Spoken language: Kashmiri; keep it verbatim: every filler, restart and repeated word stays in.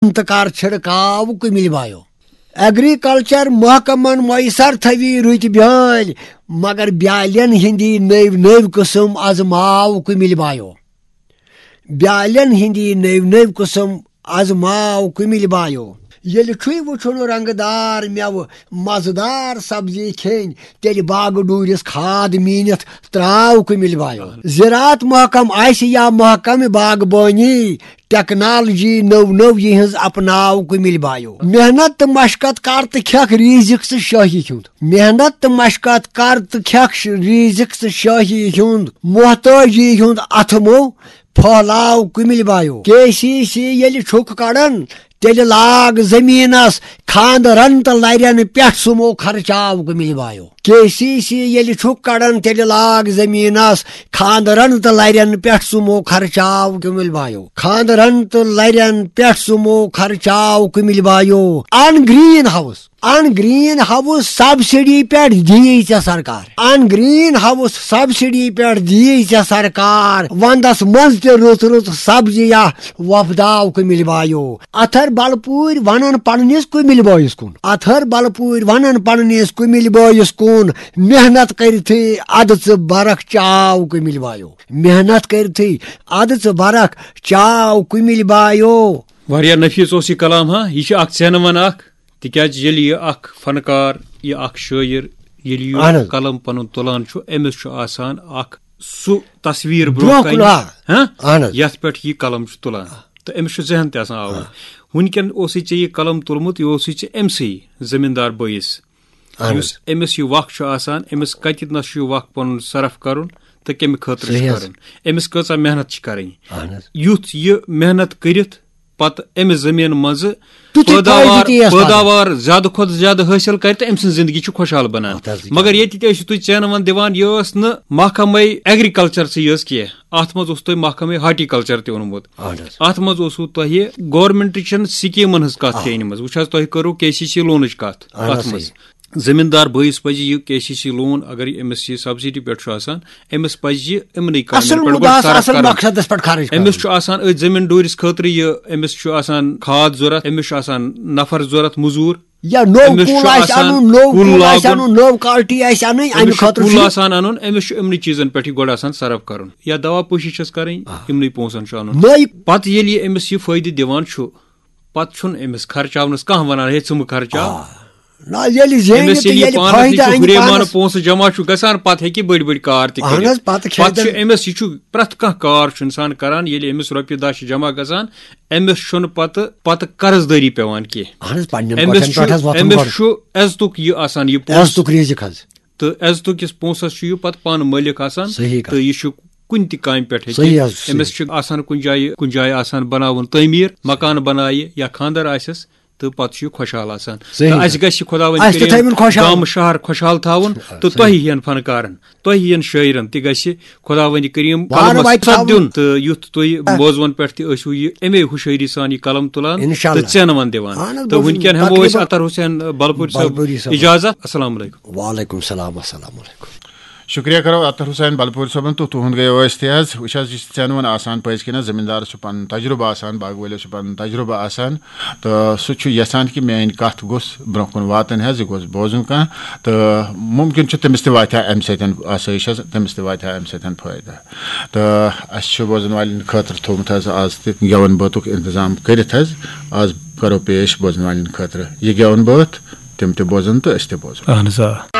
تہٕ کر چھڑکاو کُمِل بایو۔ ایگریکلچر محکمن میسر تھٲوی رٕتۍ بیٲلۍ، مگر بیالٮ۪ن ہٕنٛدی نٔوۍ نٔوۍ قٕسم آزماو کُمِل بایو۔ بیالٮ۪ن ہٕنٛدی نٔوۍ نٔوۍ قٕسم آزماو کُمِل بایو۔ ییٚلہِ چھُے وُچھُن رنٛگہٕ دار مٮ۪وٕ، مزٕدار سبزی کھیٚنۍ، تیٚلہِ باغہٕ ڈوٗرِس کھاد میٖنِتھ ترٛاو کُمِل بایو۔ زِراعت محکم آسہِ یا محکمہِ باغبٲنی، ٹیکنالوجی نٔو نٔو یِہٕنٛز اپناو کُمِل بایو۔ محنت تہٕ مشقت کر تہٕ کھٮ۪کھ ریٖزِق ژٕ شٲہی ہُنٛد۔ محنت تہٕ مشقت کر تہٕ کھٮ۪کھ ش-، ریٖزِق ژٕ شٲہی ہُنٛد۔ محتٲجی ہُنٛد اتھٕ مو پھٔہلاو کُمِل بایو۔ کے سی سی ییٚلہِ چھُکھ کڑان، تیٚلہِ لاگ زٔمیٖنس خانٛدرن تہٕ لرٮ۪ن پٮ۪ٹھ سُمو خرچاو کُمِل بایو۔ کے سی سی ییٚلہِ چھُکھ کڑان، تیٚلہِ لاگ زٔمیٖنس خانٛدرن تہٕ لرٮ۪ن پٮ۪ٹھ سُمو خرچاو کُمِل بایو۔ خانٛدرن تہٕ لرٮ۪ن پٮ۪ٹھ سُمو خرچاو کُمِل بایو۔ ان گرین ہاؤس۔ ان گرین ہاؤس سبسڈی پٮ۪ٹھ دِیی ژےٚ سرکار۔ ان گرین ہاؤس سبسڈی پٮ۪ٹھ دِیی ژےٚ سرکار۔ ونٛدس منٛز تہِ رٕژ رٕژ سبزی یا وۄپداو کُمِل بایو۔ اتھر بلپوٗرۍ ونان پننِس کُمِل بٲیِس کُن۔ اتھر بلپوٗرۍ ونان پننِس کُمِل بٲیِس کُن۔ محنت کٔرتھٕے ادٕ ژٕ برکھ چاو کُمِل بایو۔ محنت کٔرتھٕے ادٕ ژٕ برکھ چاو کُمِل بایو۔ واریاہ نفیٖس اوس یہِ کلام، ہا؟ یہِ چھُ اکھ ژینہٕ ون اکھ، تِکیازِ ییٚلہِ یہِ اکھ فنکار، یہِ اکھ شٲعر، ییٚلہِ یہِ اہن حظ۔ قلم پنُن تُلان چھُ، أمِس چھُ آسان اکھ سُہ تصویر برونٛہہ برونٛہہ کُن، کنہِ، آ۔ ہاں؟ اہن حظ۔ یتھ پٮ۪ٹھ یہِ قلم چھُ تُلان۔ تہٕ أمِس چھُ ذہن تہِ آسان آوُر۔ آ۔ وٕنکٮ۪ن اوسُے ژےٚ یہِ قلم تُلمُت، یہِ اوسُے ژےٚ أمۍ سٕے زٔمیٖندار بٲیِس، اہن یُس حظ۔ أمِس یہِ وق چھُ آسان، أمِس کتہِ نس چھُ یہِ وق پنُن صرف کرُن تہٕ کمہِ خٲطرٕ چھُ صحیح حظ۔ کرُن، أمِس کۭژاہ محنت چھِ کرٕنۍ۔ اہن حظ۔ یُتھ یہِ محنت کٔرِتھ پتہٕ أمِس زٔمیٖن منٛزٕ تیُتھُے فٲیدٕ پیداوار، تہِ یِیَس پَتہٕ۔ پٲداوار زیادٕ کھۄتہٕ زیادٕ حٲصِل کرِ تہٕ أمۍ سٕنٛز زندگی چھِ خۄشحال بنان۔ اَتھ حظ چھِ مگر کیٛاہ؟ ییٚتہِ تہِ ٲسِو تُہۍ ژینہٕ وَن دِوان، یہِ ٲس نہٕ محکمے ایگریکلچرسٕے یٲژ کینٛہہ، اَتھ منٛز اوس تۄہہِ محکمے ہارٹیکلچر تہِ اوٚنمُت۔ اَہَن حظ۔ اَتھ منٛز اوسوٕ تۄہہِ گورنمنٹٕچن سکیٖمن ہٕنٛز کَتھ آ۔ تہِ أنمٕژ۔ وٕچھ حظ، تۄہہِ کٔرٕو کے سی سی لونٕچ کَتھ اَہَن حظ، اَتھ منٛز۔ صحیح۔ زٔمیٖندار بٲیِس پَزِ یہِ کے سی سی لون، اگر یہِ أمِس یہِ سبسڈی پٮ۪ٹھ چھُ آسان، أمِس پَزِ یہِ یِمنٕے کامٮ۪ن اَصٕل پٮ۪ٹھ گۄڈٕ مُدعاہَس، صرف اَصٕل کَرُن۔ مقصدَس پٮ۪ٹھ خرٕچ أمِس کَرُن۔ چھُ آسان أتھۍ زٔمیٖن ڈوٗرِس خٲطرٕ یہِ، أمِس چھُ آسان کھاد ضوٚرَتھ، أمِس چھُ آسان نفر ضوٚرَتھ، مٔزوٗر۔ یا نوٚو أمِس کُل چھُ آسہِ آسان اَنُن، نوٚو کُل کُل آسہِ لاگُن۔ اَنُن، نوٚو کالٹی آسہِ اَنٕنۍ، اَمہِ أمِس چھُ خٲطرٕ کُل چھُ آسان اَنُن، أمِس چھُ یِمنٕے چیٖزَن پٮ۪ٹھ یہِ گۄڈٕ آسان صرف کَرُن۔ یا دوا پٲشی چھَس کَرٕنۍ، آ۔ یِمنٕے پونٛسَن چھُ اَنُن۔ نٔے پَتہٕ ییٚلہِ یہِ أمِس یہِ فٲیدٕ دِوان چھُ، پَتہٕ چھُنہٕ أمِس خرچاونَس کانٛہہ وَنان، "ہے، ژٕ مہٕ خرچاو۔" آ۔ نہ، ییٚلہِ زینہِ أمِس تہٕ ییٚلہِ یہِ ییٚلہِ پانَس فٲیدٕ نِش سُہ اَنہِ ہُریمانہٕ پانَس۔ پونٛسہٕ جمع چھُ گژھان، پَتہٕ ہیٚکہِ یہِ بٔڑۍ بٔڑۍ کار تہِ اَہَن کٔرِتھ۔ حظ، پَتہٕ کھیٚیہِ پَتہٕ چھُ تٔمۍ أمِس، یہِ چھُ پرٛٮ۪تھ کانٛہہ کار چھُ اِنسان کَران، ییٚلہِ أمِس رۄپیہِ دَہ چھِ جمع گژھان، أمِس چھُنہٕ پَتہٕ، پَتہٕ قرض دٲری پٮ۪وان کینٛہہ۔ اَہَن حظ، پنٛنٮ۪ن أمِس کۄٹھٮ۪ن چھُ، پٮ۪ٹھ حظ وۄتھُن أمِس گۄڈٕ۔ چھُ عزتُک یہِ آسان، یہِ پونٛسہٕ۔ عزتُک رِزِق حظ۔ تہٕ عزتُک یُس پونٛسہٕ حظ چھُ، یہِ پَتہٕ پانہٕ مٲلِک آسان۔ صحیح کَتھ۔ تہٕ یہِ چھُ کُنہِ تہِ کامہِ پٮ۪ٹھ ہیٚکہِ۔ صحیح حظ، صحیح۔ أمِس چھُ آسان کُنہِ جایہِ، کُنہِ جایہِ آسان بَناوُن تعمیٖر، مکان بَنایہِ یا خانٛدر آسٮ۪س، تہٕ پَتہٕ چھُ یہِ خۄشحال آسان۔ صحیح تہٕ حظ۔ اَسہِ گژھِ خۄداوندِ اَسہِ تہِ کٔرِیٖم تھٲوِن خۄشحال۔ گامہٕ شہر خۄشحال تھاوُن۔ آ، تہٕ صحیح۔ تۄہہِ ہِوٮ۪ن فنکارَن، تۄہہِ ہِوٮ۪ن شٲعرَن تہِ گژھِ خۄداوندِ کٔرِیٖم وارٕ قلمَس وَتہِ ست تھاوُن۔ دیُن۔ تہٕ یُتھ تُہۍ آ۔ بوزوَن پٮ۪ٹھ تہِ ٲسِو یہِ اَمے ہُشٲری سان یہِ قلم تُلان انشاءاللہ۔ تہٕ ژینہٕ وَن دِوان۔ اہن حظ، تہٕ بوزُن وٕنکٮ۪ن ہٮ۪مو أسۍ تقریٖباً اطہر حسین بلپوٗرۍ صٲب بلپوٗرۍ صٲبَس۔ اجازت۔ السلام علیکم۔ وعلیکم السلام، السلام علیکم۔ شُکریہ کرو اطہر حسین بلپوٗرۍ صٲبُن تہٕ تُہُنٛد گٔیو أسۍ تہِ حظ۔ وٕچھ حظ، یہِ چھِ ژینہٕ وَن آسان پٔزۍ کِنۍ حظ، زٔمیٖندارَس چھُ پَنُن تجرُبہٕ آسان، باغہٕ وٲلِس چھُ پَنُن تجرُبہٕ آسان، تہٕ سُہ چھُ یَژھان کہِ میٛٲنۍ کَتھ گوٚژھ برٛونٛہہ کُن واتٕنۍ حظ، یہِ گوٚژھ بوزُن کانٛہہ۔ تہٕ مُمکِن چھُ تٔمِس تہِ واتہِ ہا اَمہِ سۭتۍ آسٲیِش حظ، تٔمِس تہِ واتہِ ہا اَمہِ سۭتۍ فٲیدٕ۔ تہٕ اَسہِ چھُ بوزَن والٮ۪ن خٲطرٕ تھوٚومُت حظ آز تہِ گٮ۪وَن بٲتُک اِنتظام کٔرِتھ حظ۔ آز کَرو پیش بوزَن والٮ۪ن خٲطرٕ یہِ گٮ۪وَن بٲتھ، تِم تہِ بوزَن تہٕ أسۍ تہِ بوزو۔ اَہَن حظ، آ۔